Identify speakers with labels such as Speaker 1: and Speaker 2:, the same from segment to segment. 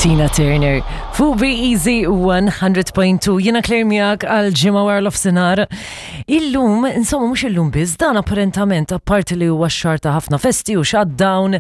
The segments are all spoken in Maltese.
Speaker 1: Tina Turner fuq Be Easy 100.2 jiena Claire miegħek għal ġimgħa wara l-ofsinhar. Illum, insomma mhux illum biss, dan apparentament apparti li huwa x-xahar ta' ħafna festi u shutdown,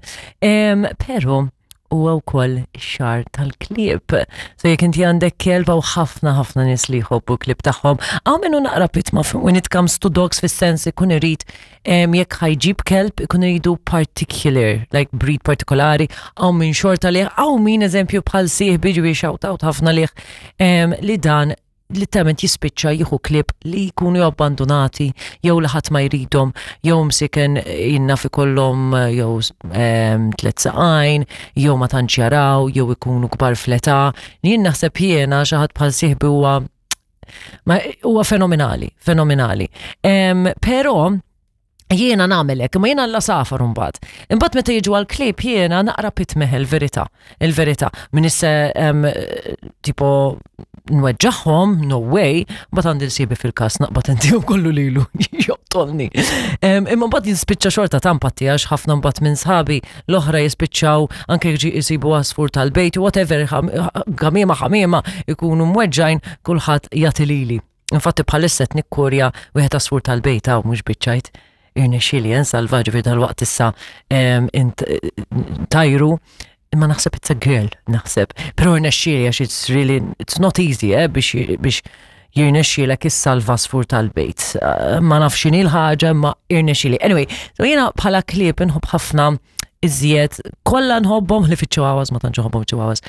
Speaker 1: però huwa wkoll ix-xahar tal-klieb. So jekk inti għandek kelb hawn ħafna ħafna nies li jħobbu klieb tagħhom. Hawn minnu naqra pitma when it comes to dogs fis-sens ikun irid jekk ħajġib kelb ikun iridu particular, like breed partikolari, hawn min xorta liħ, hawn min eżempju bħal sieħbi ġivi shout out ħafna liħ li dan literalment jispiċċa jieħu klieb li jkunu abbandonati jew li ħadd ma jridhom jew msiken jinnaf ikollhom jew tliet saqajn jew ma tantx jaraw jew ikunu kbar fl-età. Jien naħseb jiena xi ħadd bħal sieħbi huwa Ma huwa fenomenali, fenomenali. Però jiena nagħmel hekk, imma jiena la safar imbagħad. Imbagħad meta jiġu għal klieb jiena naqra pitmeħ il-verità, il-verità. Min isse tipo nweġġaħħom, no way, mbagħad għandi l-sibi fil-każ naqbad intihom kollu lilu joqtolni. Imma mbagħad jispiċċa xorta tampatti għax ħafna mbagħad minn sħabi l-oħra jispiċċaw anke jekk jisibu għasfur tal-bejt, whatever, għamiema ħamiema ikunu mweġġajn kulħadd jagħti lili. Infatti bħalissa qed nikkurja wieħed għasfur tal-bejt hawn mhux biċċajt irnexxieli nsalva ġifieri dal-waqt issa tajru imma naħseb it's a girl, naħseb. Però irnexxieli għax it's really, it's not easy, eh, biex, biex jirnexxielek issalva għasfur tal-bejt. Eh, ma nafx x'inhi l-ħaġa imma irnexxieli. Anyway, so jiena bħala klieb inħobb ħafna iżjed kollha nħobbhom li fiċ-chihuahuas ma tantx nħobbhom chihuahuas.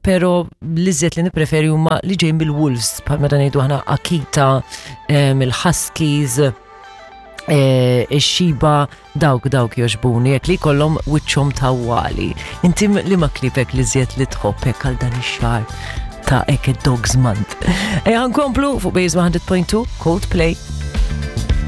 Speaker 1: Però l-iżjed li nippreferi huma li ġejjin mill-wolves bħal meta ngħidu aħna Akita, il-Huskies, eh, ix-xiba dawk dawk joġbuni jekk li jkollhom wiċċhom tawwali. Inti li ma klipek li żjed li tħobb hekk għal dan ix-xahar ta' hekk id-Dogs Month. Ejja nkomplu fuq Base 100.2 Coldplay.